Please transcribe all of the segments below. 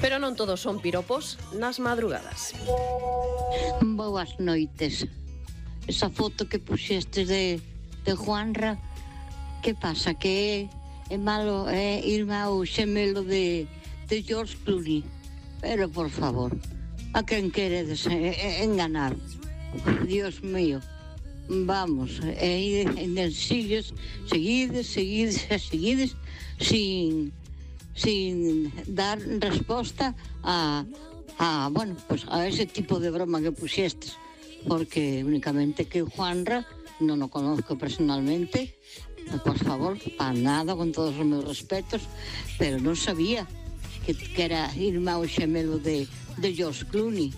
Pero non todos son piropos nas madrugadas. Boas noites. Esa foto que puxestes de Juanra, que pasa? Que é malo irmão xemelo de George Clooney. Pero, por favor, a quen queredes enganar? Dios mío. Vamos, seguides sin dar resposta a ese tipo de broma que puxestes, porque únicamente que Juanra non o conozco personalmente, por favor, para nada, con todos os meus respetos, pero non sabía que era irmão xemelo de George Clooney.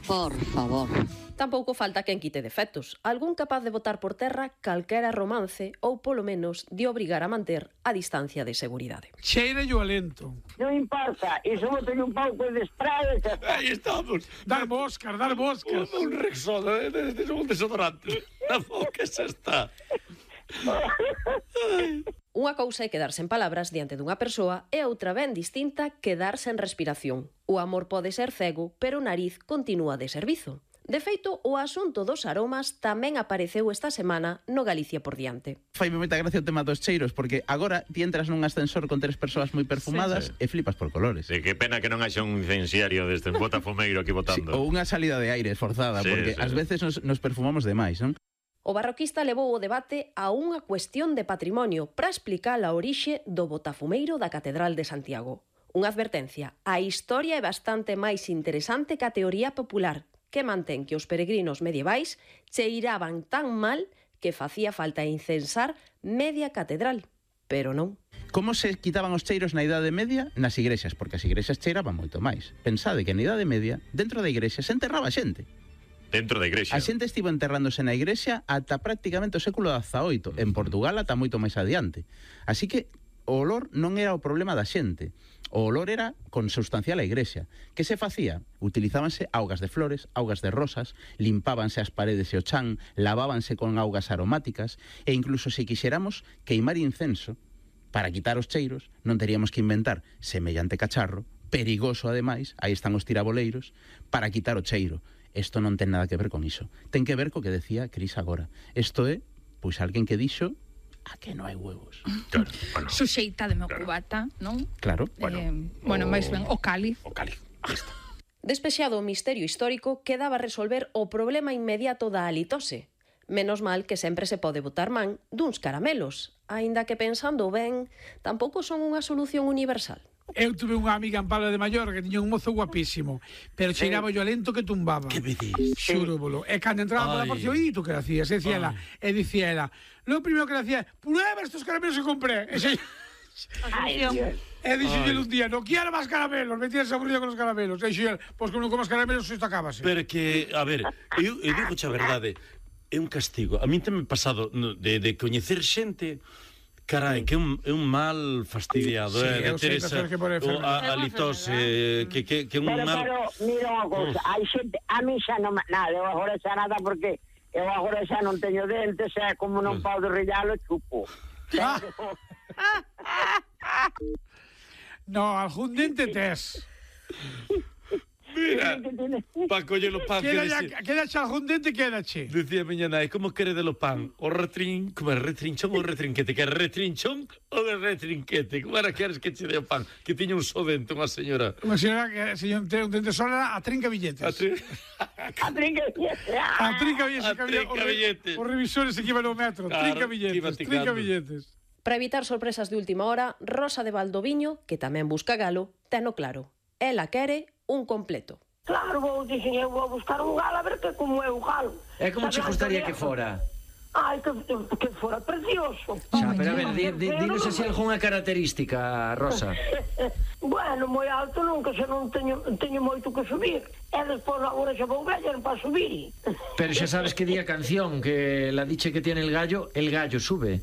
Por favor. Tampouco falta quen quite defectos, algún capaz de botar por terra calquera romance ou, polo menos, de obrigar a manter a distancia de seguridade. Cheira yo alento. Non importa, iso bote un pouco de spray. Aí estamos. Dar moscas. Un Rexona, un desodorante. Na boca xa está. Unha cousa é quedar sen palabras diante dunha persoa e outra ben distinta quedar sen respiración. O amor pode ser cego, pero o nariz continúa de servizo. De feito, o asunto dos aromas tamén apareceu esta semana no Galicia por diante. Faime moita gracia o tema dos cheiros, porque agora ti entras nun ascensor con 3 persoas moi perfumadas e flipas por colores. Sí, que pena que non haxa un incenciario deste botafumeiro aquí botando. Ou unha salida de aire forzada, porque ás veces nos perfumamos demais, non? O barroquista levou o debate a unha cuestión de patrimonio para explicar a orixe do botafumeiro da Catedral de Santiago. Unha advertencia, a historia é bastante máis interesante que a teoría popular, que mantén que os peregrinos medievais cheiraban tan mal que facía falta incensar media catedral. Pero non. Como se quitaban os cheiros na Idade Media? Nas igrexas, porque as igrexas cheiraban moito máis. Pensade que na Idade Media, dentro da igrexa, se enterraba xente. Dentro da igrexa. A xente estivo enterrándose na igrexa ata prácticamente o século XVIII. En Portugal ata moito máis adiante. Así que o olor non era o problema da xente. O olor era consubstancial á igrexa. Que se facía? Utilizábanse augas de flores, augas de rosas, limpábanse as paredes e o chan, lavábanse con augas aromáticas e incluso se quixéramos queimar incenso para quitar os cheiros, non teríamos que inventar semellante cacharro, perigoso ademais, aí están os tiraboleiros, para quitar o cheiro. Isto non ten nada que ver con iso. Ten que ver co que decía Cris agora. Isto é, pois, alguén que dixo a que non hai huevos. Claro, bueno. Suxeita de meu cubata, non? Claro. Máis ben, o cáliz. O cáliz, listo. Despexado o misterio histórico, quedaba resolver o problema inmediato da halitose. Menos mal que sempre se pode botar man duns caramelos, aínda que pensando ben, tampouco son unha solución universal. Eu tuve unha amiga en Palma de Mallorca que tiña un mozo guapísimo, pero cheiraba yo lento que tumbaba. Que me dis? Xúrobolo. E cando entraba pola porción, tú que hacías? E dicía ela, lo primero que hacía, prueba estos caramelos que compré. E dixo un día, no quiero máis caramelos, me tienes aburrido con os caramelos. E dixo, pois que non comas caramelos, isto acabase. Pero que, a ver, eu digo a verdade, é un castigo. A mí teme pasado de coñecer xente. Carai, que é un mal fastidiado, Teresa, a litose, que un mal... Pero, mira unha cousa, hai xente, a mí xa non, nada, eu agora xa nada, porque eu agora xa non teño dentes, e como non podo rellalo, chupo. No, algún dente tes. Mira, pa coller o pan quedache algún dente, quedache. Decía miña nai, como quere de lo pan? O como é retrinchón ou retrinquete? Que é retrinchón ou é retrinquete? Como era que eres que che de o pan? Que tiña un só dente, unha señora. Unha señora que ten un dente sola a trinca billetes. A trinca billetes. Os revisores que iban ao metro. Trinca billetes. Para evitar sorpresas de última hora, Rosa de Valdoviño, que tamén busca galo, teno claro. Ela quere un completo. Claro, dixen, eu vou buscar un galo a ver que como é o galo. E como che gustaría que fora? Ai, que fora precioso. Xa, pero a ver, dinos así algunha característica, Rosa. Bueno, moi alto nunca, xa non teño moito que subir. E despois agora xa vou vellar para subir. Pero xa sabes que di a canción, que la diche que tiene el gallo sube.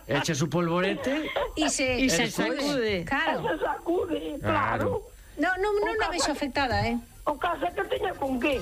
Echa su polvorete e se sacude. Claro. Se sacude, claro. Non a vexo afectada, O caso é que teña con que.